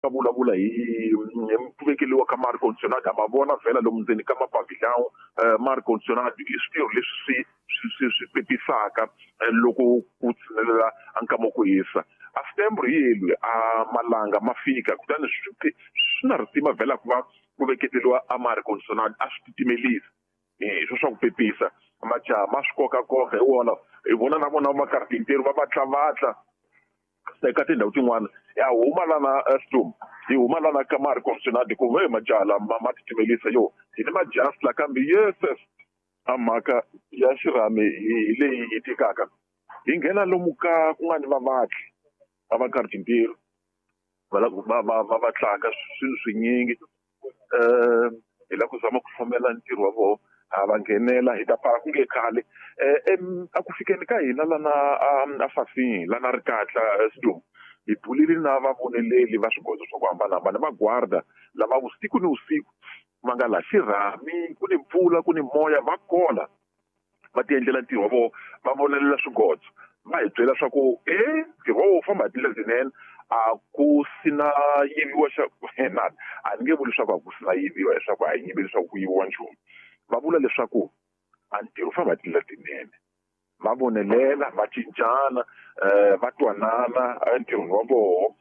Va vulavula hi ku vekeriwa ka ma-air conditionado, ha ma vona vhela lomu ndzeni ka mapavillon. Ma-air conditionado i switirho leswi swi pepisaka loko ku tshinelela a nkama ku hisa. A Setembro hi yelwi a malanga ma fika, kutani swi na risima vhela ku va ku veketeriwa a ma-air conditionado, a swi titimelisa hi swo swa ku pepisa. Majaha ma swi kokakoka hi wona, hi vona na vona makarpinteru va vatlavatla eka tindhawu tin'wana. Ya huma lana Storm, hi huma lana ka ma-air conditionado, ku ve majaha lama ma titimelisa yo hi ni majasi la, kambe yeses a mhaka ya xirhami hi leyi yi tikaka. Hi nghena lomu ka ku nga ni vavatli va vakarpinteru va la va vatlaka swilo swinyingi, hi la ku zama ku hlomela ntirho wa vona. Ha va nghenela, hi ta pfala ku nge khale. A ku fikeni ka hina lana a Fasini lana Rikatla Storm, hi bulile na vavoneleli va swigodzo swa ku hambanahambana, va guarda lava vusiku ni vusiku va nga laha xirhami, ku ni mpfula ku ni moya, va kola va ti endlela ntirho wa vona, va vonelela swigodzo. Va hi byela swa ku ntirho wa vona wu famba hi tindlela tinene, a ku sina yiviwa xa na a ni nge vuli leswaku a ku sina yiviwa, leswaku a hi yivi leswaku ku yiviwa nchumu. Va vula leswaku a ntirho wu famba hi tindlela tinene, va vonelela, va cincana, va twanana entirhweni wa vona.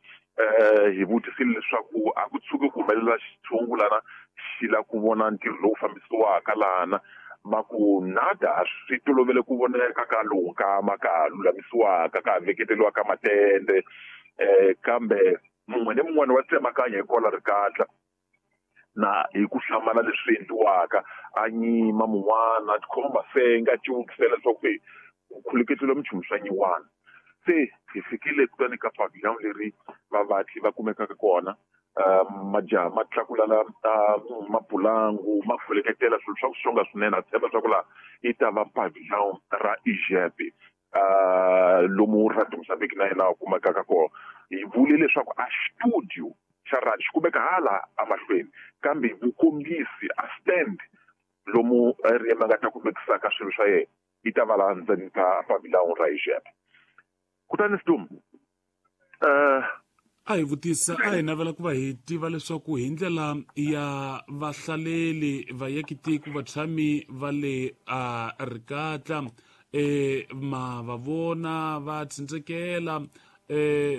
Hi vutisile leswaku a ku tshuki ku humelela xitshungu lana xi la ku vona ntirho lowu fambisiwaka lana, va ku nada, swi tolovele ku voneka ka lowu nkama ka ha lulamisiwaka, ka ha veketeriwa ka matende, kambe mun'we ni mun'wana wa tsemakanya hi kola Rikatla na hi ku hlamala leswi endliwaka, a nyima mun'wana a tikhoma masenga a civukisela leswaku ku khuluketeriwa minchumu swa nyiwana. Se hi fikile kutani ka pavillon leri vavatli va kumekaka kona, majaha ma tlakulala mapulangu ma khuleketela swilo swa ku xonga swinene. A tshemba swa ku laha yi ta va pavillon ra Egypt, lomu Radio Mozambique na yena a kumekaka kona. Hi vule leswaku a studio xa radio xi kumeka hala emahlweni, kambe vukombisi a stand lomu Riyama nga ta kumekisaka swilo swa yena yi ta va laha ndzeni ka pavillon ra Egypt. Kutani Storm, a hi vutisa, a hi navela ku va hi tiva leswaku hi ndlela ya vahlaleli vayakitiko vatshami va le a Rikatla, ma va vona va tsindzekela,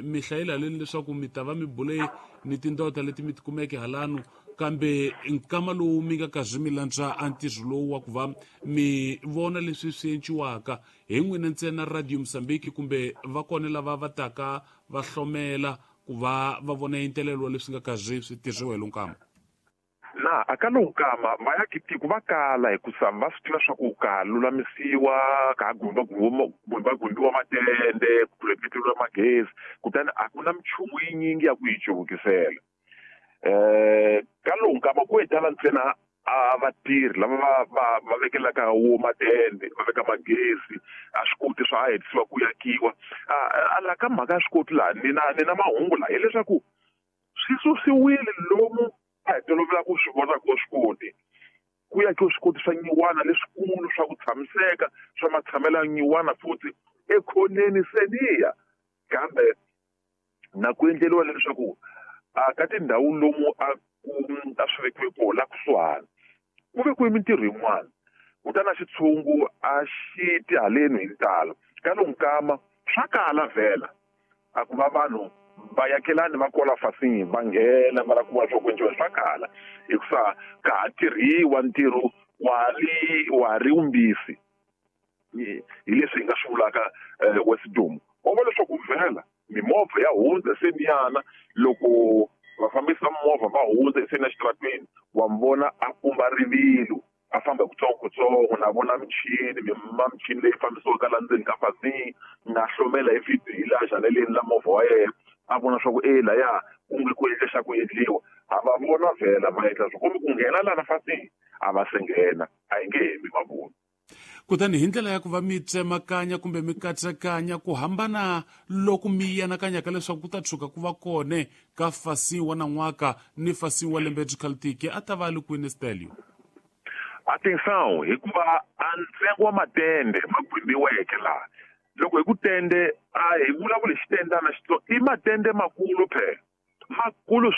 mi hlayela leni leswaku mi ta va mi bule ni tindota leti mi tikumeke halano, kambe nkama lowu mi nga kazi mi landza a ntirho lowu wa ku va mi vona leswi swi enciwaka hi n'wina ntsena Radio Mozambique, kumbe va kona lava va taka va hlomela ku va va vona entelelo wa leswi nga kazi swi tirhiwa hi lonkama? Na a ka lowu nkama vayakitiko va kala, hikusa va swi tiva swa ku ka lulamisiwa, ka ha gumbagumbiwa matende, ku kuleketeriwa magezi, kutani a ku na minchumu yinyingi ya ku yi cuvukisela. Ka lowu nkama ku etala ntsena a vatirhi lava va vekelaka wo matende, va veka magezi, a swi koti swa ha hetisiwa ku yakiwa. A la ka mhaka ya swi koti laha ni na mahungu laha hileswaku swi susiwile lomu a hi tolovela ku swi vona ko swi koti. Ku yakiwa swikoti swa nyiwana leswikulu swa ku tshamiseka swa matshamelo ya nyiwana futhi ekhoneni seniya, kambe na ku endleriwa leswaku a ka tindhawu lomu a ku a swi vekiwe kona la kusuhani ku vekiwe mintirho yin'wana, kutani a xitshungu a xi ti haleni hi ntalo. Ka lowu nkama swa kala vhela a ku va vanhu va yakelani va kola fasini va nghena va la ku va swa ku endliwa, swa kala hikusa ka ha tirhiwa ntirho wa ri wumbisi. Hi leswi hi nga swi vulaka Westdom. Wa vona leswaku vhela mimovha ya hundza seniyana, loko vafambisi va mimovha va hundza hi seni exitarateni, wa mi vona a pumba rivilo a famba hi kutsongokutsongo, na vona michini michini leyi fambisiwaka laha ndzeni ka fasini, na hlomela hi vhidhiyo hi laha xaneleni la movha wa yena, a vona swa ku e laya ku nge ku endle xa ku endliwa. A va vona vhela va endla swo kumbe ku nghena lana fasini a va se nghena, a hi nge hembi mavona. Kutani hi ndlela ya ku va mi tsemakanya kumbe mi katsekanya ku hambana loku mi anakanyaka leswaku ku ta tshuka ku va kone ka fasi wa nan'waka ni fasi wa lembe byi a ta va li kwini Stelio? Atenção, hikuva a ntsengo wa matende ma gwimbiweke laha, loko hi ku tende a hi vulavuli hi xitendana xitsongo, i matende makulu phela. Makulu.